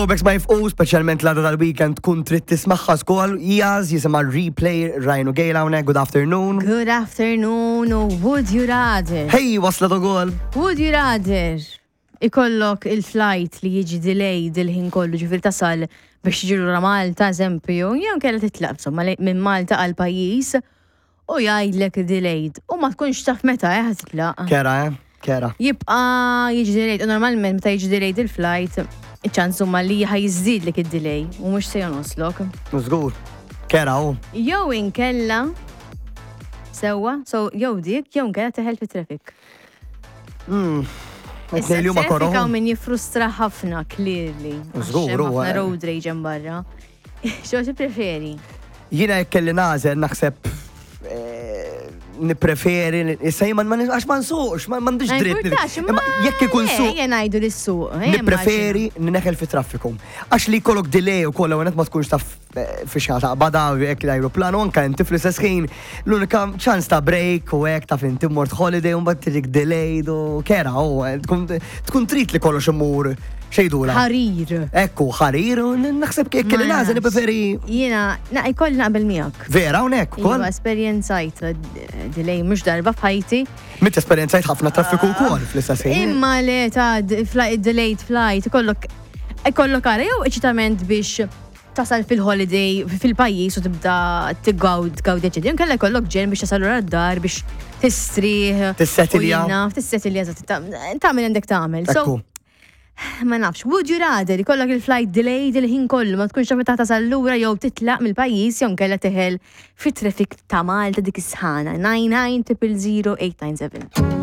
Throwbacks ma jifqu, speċjalment l-għada tal-weekend tkun trid tismagħha skol. Jaz jisimha Replay Ryan u Gail hawnhekk. Good afternoon. Good afternoon u would you rather? Hey, waslet ukoll. Would you rather ikollok il-flight li jiġi delayed il-ħin kollu ġifieri tasal biex tiġi lura Malta eżempju, jew inkella titlaq insomma minn Malta għal pajjiż u jgħidlek delayed u ma tkunx taf meta eh titlaq. Kera, eh? Kera. Jibqa' jiġi delayed u normalment meta jiġi delayed il-flight, iċ-ċans huma li ħa jiżdiedlek id-delay u mhux se jonqoslok. Żgur. Kera hu. Jew inkella sewwa, so jew dik jew inkella teħel fit-traffic. Hmm. Issa li huma koroh. Hawn min jiffrustra ħafna clearly. Żgur huwa. Road rage hemm barra. Xo tippreferi? Jiena jekk kelli nagħżel naħseb eh, nippreferi issa jien ma għax ma nsuqx, ma m'għandix dritt. Imma jekk ikun suq. Ejja ngħidu li suq. Eh, nippreferi neħel fi traffiku. Għax li jkollok delay u kollha ma tkunx taf eh, fi xi taqbada jekk l-ajruplan u anke inti fl-istess ħin l-unika ċans ta' break u hekk taf inti mort holiday u mbagħad tiġik delayed u kera u tkun trid li kollox imur Xejdula? Ħarir. Ekku, ħarir, u naħseb kif kelli nażel nippreferi. Jiena, na jkolli naqbel miegħek. Vera hawnhekk ukoll? Iva, esperjenzajt eh, delay mhux darba f'ħajti. Mit esperjenzajt ħafna traffiku wkoll fl-istess ħin. Imma le ta' delayed flight, ikollok ikollok ara jew eċitament biex tasal fil-holiday fil-pajjiż u tibda tigawd gawdi eċetera. Inkella jkollok ġen biex tasal lura d-dar biex tistrieħ. Tissetilja. Tissetilja, tagħmel għandek tagħmel. So, ma nafx, would you rather ikollok il-flight delayed il-ħin kollu ma tkunx taf meta tasal lura jew titlaq mill-pajjiż jew nkella teħel fit-traffic ta' Malta dik is-sħana 99 000 897.